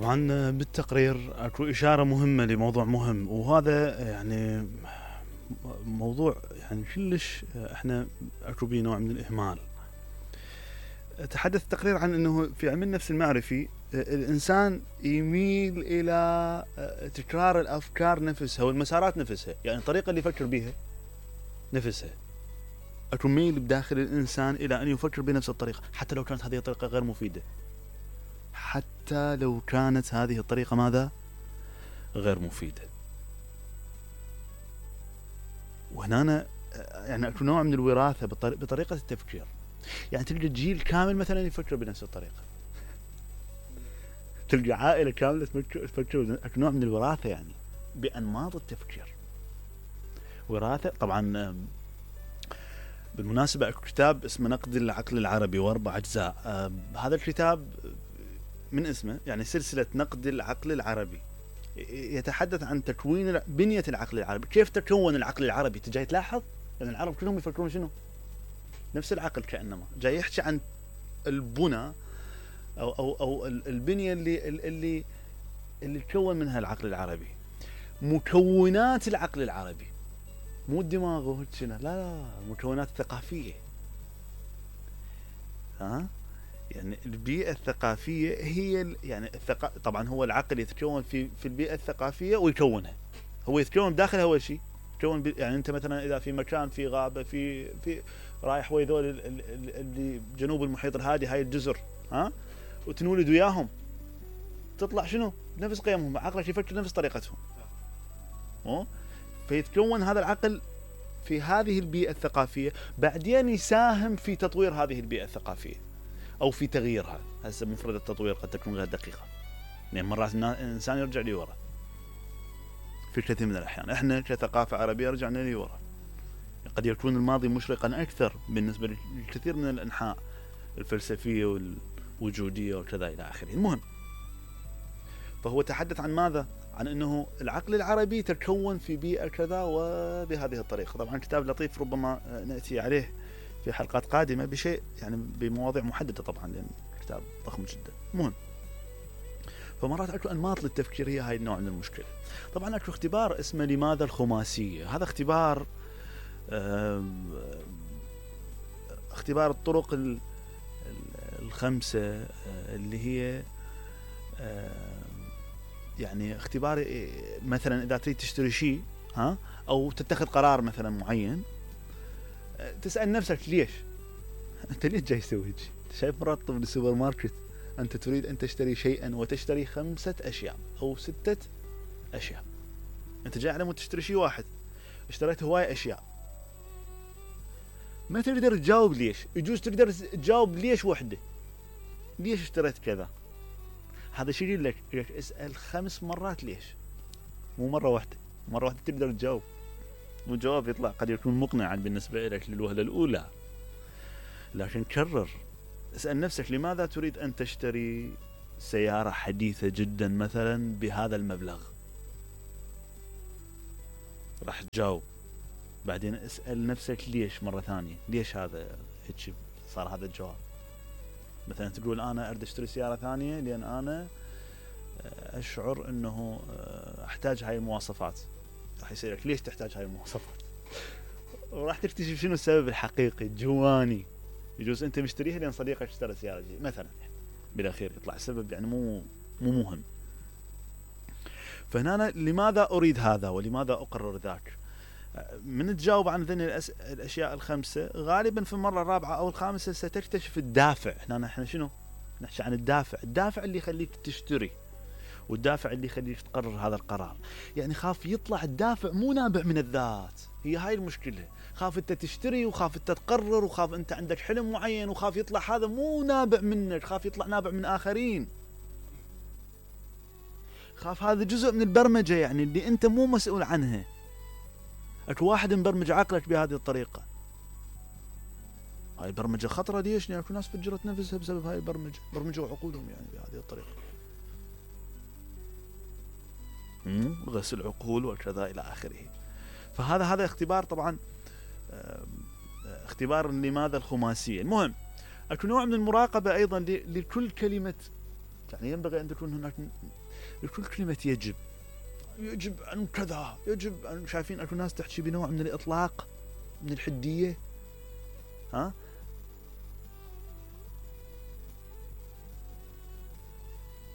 طبعا بالتقرير اكو اشاره مهمه لموضوع مهم، وهذا يعني موضوع يعني كلش احنا اكو بيه نوع من الاهمال. تحدث التقرير عن انه في علم النفس المعرفي الانسان يميل الى تكرار الافكار نفسها والمسارات نفسها، يعني الطريقه اللي يفكر بها نفسها. اكو ميل بداخل الانسان الى ان يفكر بنفس الطريقه، حتى لو كانت هذه الطريقه غير مفيده، حتى لو كانت هذه الطريقه ماذا؟ غير مفيده. وهنا يعني اكو نوع من الوراثه بطريقه التفكير. يعني تلقى جيل كامل مثلا يفكر بنفس الطريقه، تلقى عائله كامله تفكر اكو نوع من الوراثه يعني بانماط التفكير. وراثه طبعا. بالمناسبه اكو كتاب اسمه نقد العقل العربي واربع اجزاء. هذا الكتاب من اسمه يعني سلسله نقد العقل العربي، يتحدث عن تكوين بنيه العقل العربي، كيف تكون العقل العربي. تجي تلاحظ ان يعني العرب كلهم يفكرون شنو؟ نفس العقل، كانما جاي يحكي عن البنى او البنيه اللي تكون منها العقل العربي، مكونات العقل العربي، مو الدماغ وهكذا، لا المكونات الثقافيه. يعني البيئه الثقافيه هي يعني طبعا هو العقل يتكون في البيئه الثقافيه ويكونها، هو يتكون داخلها اول شيء يتكون يعني انت مثلا اذا في مكان في غابه في رايح ويا ذول اللي جنوب المحيط الهادي، هاي الجزر وتنولد وياهم، تطلع شنو؟ نفس قيمهم، عقلك يفكر نفس طريقتهم. فيتكون هذا العقل في هذه البيئه الثقافيه، بعدين يساهم في تطوير هذه البيئه الثقافيه او في تغييرها. هسه مفردة التطوير قد تكون غير دقيقه، يعني مرات الانسان يرجع لورا في كثير من الاحيان. احنا كثقافه عربيه رجعنا لورا، قد يكون الماضي مشرقا اكثر بالنسبه للكثير من الانحاء الفلسفيه والوجوديه وكذا الى اخره. المهم، فهو تحدث عن ماذا؟ عن انه العقل العربي تكون في بيئه كذا وبهذه الطريقه. طبعا كتاب لطيف، ربما ناتي عليه في حلقات قادمه بشيء يعني بمواضيع محدده طبعا، لان الكتاب ضخم جدا. المهم، فمرات اكو انماط للتفكير، هي هاي النوع من المشكله. طبعا اكو اختبار اسمه لماذا الخماسيه. هذا اختبار اختبار الطرق الخمسه اللي هي يعني اختبار مثلا اذا تريد تشتري شيء او تتخذ قرار مثلا معين، تسال نفسك ليش؟ انت ليش جاي تسوي هيك؟ شايف مرات بالسوبر ماركت انت تريد ان تشتري شيئا وتشتري 5 أشياء او 6 أشياء، انت جاي على مود تشتري شيء واحد، اشتريت هواي اشياء، ما تقدر تجاوب ليش. يجوز تقدر تجاوب ليش وحده، ليش اشتريت كذا. هذا شيء يقول لك اسال 5 مرات ليش، مو مره واحده. مره واحده تقدر تجاوب، والجواب يطلع قد يكون مقنعا بالنسبه لك للوهله الاولى، لكن كرر، اسال نفسك لماذا تريد ان تشتري سياره حديثه جدا مثلا بهذا المبلغ، راح تجاوب. بعدين اسال نفسك ليش مره ثانيه، ليش هذا هيك صار هذا الجواب. مثلا تقول انا اريد اشتري سياره ثانيه لان انا اشعر انه احتاج هاي المواصفات. راح يسالك ليش تحتاج هاي المواصفات، وراح تكتشف شنو السبب الحقيقي الجواني. يجوز انت مشتريها لان صديقك اشترى سياره جديده مثلا، بالاخير يطلع السبب يعني مو مهم. فهنا لماذا اريد هذا ولماذا اقرر ذاك. من تجاوب عن ذني الاشياء الخمسه، غالبا في المره الرابعه او الخامسه ستكتشف الدافع. احنا شنو نحكي عن الدافع اللي يخليك تشتري، والدافع اللي يخليك تقرر هذا القرار. يعني خاف يطلع الدافع مو نابع من الذات، هي هاي المشكله. خاف انت تشتري، وخاف انت تقرر، وخاف انت عندك حلم معين، وخاف يطلع هذا مو نابع منك، خاف يطلع نابع من اخرين. خاف هذا جزء من البرمجه يعني اللي انت مو مسؤول عنها. اكو واحد مبرمج عقلك بهذه الطريقه. هاي البرمجه خطره. ليش؟ لان اكو ناس فجرت نفسها بسبب هاي البرمجه، برمجوا عقولهم يعني بهذه الطريقه. غسل عقول وكذا الى اخره. فهذا اختبار طبعا، اختبار لماذا الخماسيه. المهم، اكو نوع من المراقبه ايضا لكل كلمه يعني ينبغي أن تكون هناك لكل كلمة يجب أن كذا، يجب أن، شايفين أكو ناس تحكي بنوع من الإطلاق، من الحدية. ها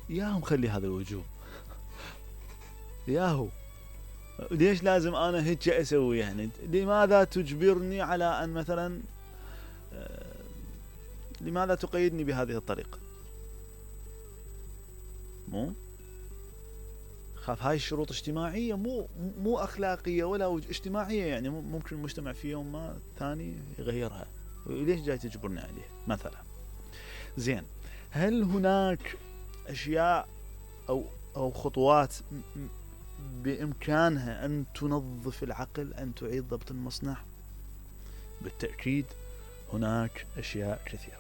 ياهم خلي هذا الوجوب ياهو، ليش لازم أنا هيك أسوي؟ يعني لماذا تجبرني على أن مثلا لماذا تقيدني بهذه الطريقة؟ مو خاف هاي الشروط اجتماعية، مو أخلاقية ولا اجتماعية، يعني ممكن المجتمع في يوم ما ثاني يغيرها، ليش جاي تجبرني عليه مثلا؟ زين، هل هناك أشياء أو خطوات بإمكانها أن تنظف العقل، أن تعيد ضبط المصنع؟ بالتأكيد هناك أشياء كثيرة.